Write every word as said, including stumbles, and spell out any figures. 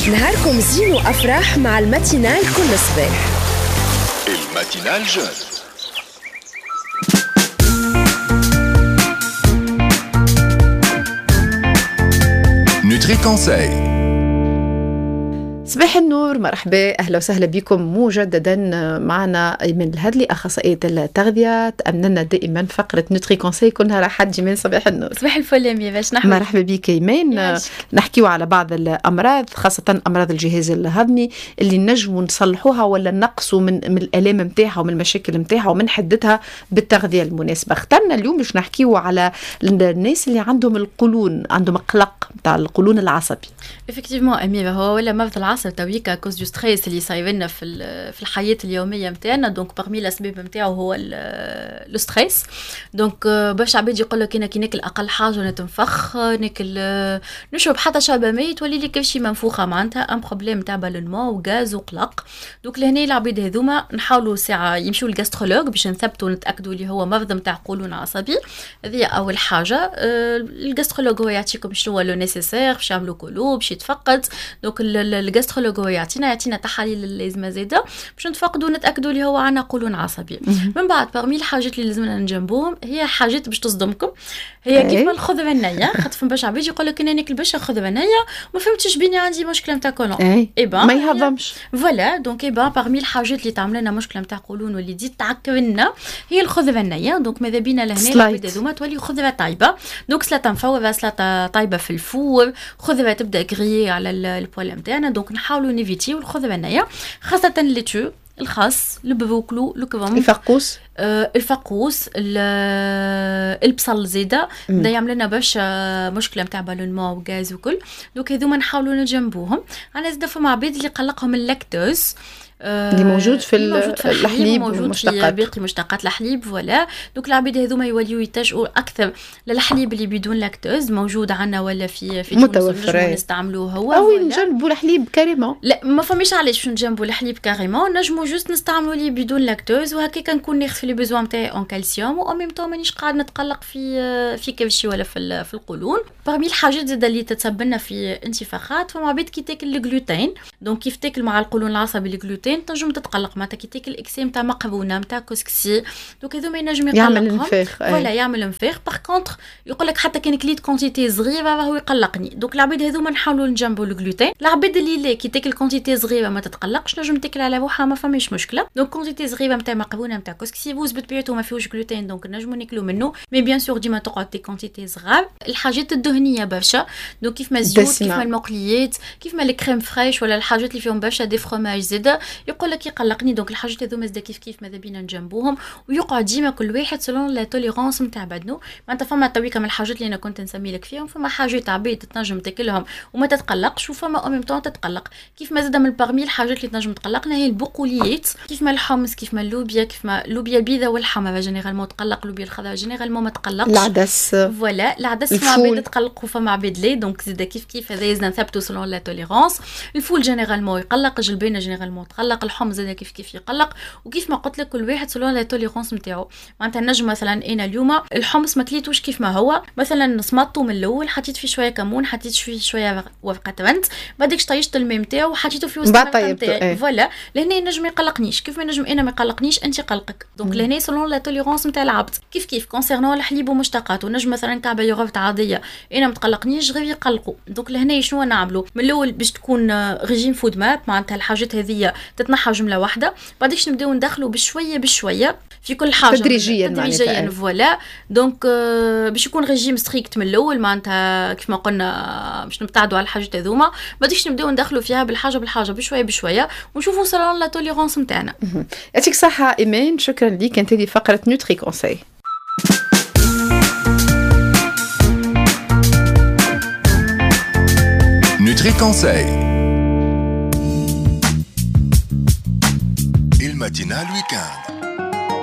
نهاركم زين وأفراح مع ال matinale كل صباح. ال matinale jeune. Nutri Conseil. صباح النور، مرحبا، اهلا وسهلا بكم مجددا. معنا ايمن الهدلي اخصائية التغذية، تامننا دائما فقره Nutri Conseil كل نهار احد. من صباح النور. صباح الفل يا مي، باش نحن مرحبا بك ايمان. نحكيو على بعض الامراض، خاصة امراض الجهاز الهضمي اللي نجموا نصلحوها ولا نقصوا من من الالام نتاعها ومن المشاكل نتاعها ومن حدتها بالتغذية المناسبة. اخترنا اليوم باش نحكيو على الناس اللي عندهم القولون، عندهم قلق نتاع القولون العصبي. effectivement امي، هو ولا مرض العصب تويكا à cause du stress اللي صاير لنا في في الحياة اليومية نتاعنا. donc parmi الاسباب نتاعو هو le stress. donc برشا عباد يقول لك انا كي ناكل اقل حاجة نتنفخ، ناكل نشرب حتى شربه ماء تولي لي كرشي منفوخه، معناتها un problème تاع ballonnement وغاز وقلق. donc لهنا العباد هذوما نحاولوا ساعة يمشيو لل gastrologue باش نثبتوا ونتاكدوا اللي هو مرض نتاع قولون عصبي. هذه اول حاجة. ال gastrologue هو يعطيكم شنو هو le nécessaire باش يعملوا colo باش يتفقد. donc ال gastrologue هو يعطينا يعطينا تحاليل اللازمة زاده باش نتفقدوا ونتاكدوا اللي هو عندنا قولون عصبي. من بعد parmi الحاجات اللي لازمنا نجنبوهم هي حاجات باش تصدمكم، هي كيف ما الخضرة النية. خاطر فما برشا عباد يقول لك انا ناكل برشا خضرة نيه ما فهمتش بيني عندي مشكلة نتاع كولون. اي ما يهضمش. voilà donc eh ben parmi الحاجات اللي تعمل لنا مشكلة نتاع قولون واللي تزيد تعكر لنا هي الخضرة النية. donc ماذا بينا لهنا العباد هذوما تولي خضرة طايبه. donc سلطة مفوره، سلطة طايبه في ال four، خضرة تبدا grillée على ال poêle نتاعنا. donc نحاولوا نيفيتيو الخضرة النية، خاصة laitue، الخس، البروكلو، الكرنب، الفقوس، آه الفقوس، البصل زيدا دا يعمل لنا برشا مشكلة نتاع ballonnement وغاز وكل. donc هذوما نحاولوا نجنبوهم. انا زيدا فما عباد اللي قلقهم اللاكتوز اللي موجود في الحليب، موجود في باقي مشتقات الحليب. voilà donc العباد هذوما يوليو يتجهوا اكثر للحليب اللي بدون لاكتوز موجود عندنا ولا في في متوفر نستعملوه هو. او نجنبوا الحليب carrément. لا ما فماش علاش باش نجنبوا الحليب carrément، نجموا juste نستعملوا اللي بدون لاكتوز وهكاك نكون ناخذ في les besoins نتاعي en calcium و en même temps مانيش قاعد نتقلق في في كرشي ولا في في القولون. parmi الحاجات زاد اللي تتسبب لنا في انتفاخات، فما عباد كي تاكل الجلوتين. donc كيف تاكل مع القولون العصبي الجلوتين تنجم تتقلق، معناتها كي تاكل excès نتاع مقرونة نتاع كسكسي donc هذوما ينجم يقلقهم، يعمل انفاخ. voilà يعمل انفاخ. par contre يقول لك حتى كان كليت quantité صغيرة راهو يقلقني. donc العباد هذوما نحاولوا نجنبوا الجلوتين. العباد اللي لا كي تاكل quantité صغيرة ما تتقلقش، نجم تاكل على روحها ما فماش مشكلة. donc quantité صغيرة نتاع مقرونة نتاع كسكسي بوز بطبيعته ما فيهوش gluten donc نجموا ناكلوا منه، mais bien sûr ديما تقعد des quantités صغار. الحاجات الدهنية برشا، donc كيف ما الزيوت، كيف ما المقليات، كيف ما ال crème fraîche ولا الحاجات اللي فيهم برشا des fromages زاده يقول لك يقلقني. donc الحاجات هذوما زاد كيف كيف ماذا بينا نجنبوهم، ويقعد ديما كل واحد selon la tolérance نتاع بدنو. معناتها فما تويكا من الحاجات اللي انا كنت نسمي لك فيهم، فما حاجات عباد تنجم تاكلهم وما تتقلقش، وفما au même temps تتقلق. كيف ما زاد من parmi الحاجات اللي تنجم تقلقنا هي البقوليات، كيف ما الحمص، كيف ما اللوبيا، كيف ما اللوبيا البيضاء والحمراء généralement تقلق، اللوبيا الخضراء généralement ما تقلقش. العدس voilà العدس فما عباد تقلق وفما عباد لا. donc زاد كيف كيف هذا لازم نثبتوا selon la tolérance. الفول généralement يقلق، الجلبانه généralement تقلق، الحمص زاد كيف كيف يقلق. وكيف ما قلت لك كل واحد selon la tolérance نتاعو. معناتها نجم مثلا انا اليوم الحمص ما كليتوش كيف ما هو، مثلا صمطته من الاول، حطيت فيه شوية كمون، حطيت فيه شوية ورقة رند، بعدك طيشت الماء نتاعو وحطيته في وسط الماء نتاعي. voilà لهنا نجم يقلقنيش، كيف ما نجم انا ما يقلقنيش انت قلقك. donc لهنا selon la tolérance نتاع العبد. كيف كيف concernant الحليب ومشتقاته، نجم مثلا كعبه يوغورت عادية انا ما تقلقنيش غير يقلقوا. donc لهنا شنو نعملوا من الاول باش تكون régime FODMAP، معناتها الحاجات هذه تتنحى جملة واحدة، بعديش نبداو ندخلوا بشوية بشوية في كل حاجة تدريجيا تدريجيا. voilà donc باش يكون régime strict من الاول، معناتها كيف ما قلنا باش نبتعدوا على الحاجات هذوما، بعديش نبداو ندخلوا فيها بالحاجة بالحاجة بشوية بشوية ونشوفوا selon la tolérance نتاعنا. يعطيك الصحة ايمان، شكرا لك. كانت هذه فقره Nutri Conseil. Nutri Conseil. ال matinale week-end.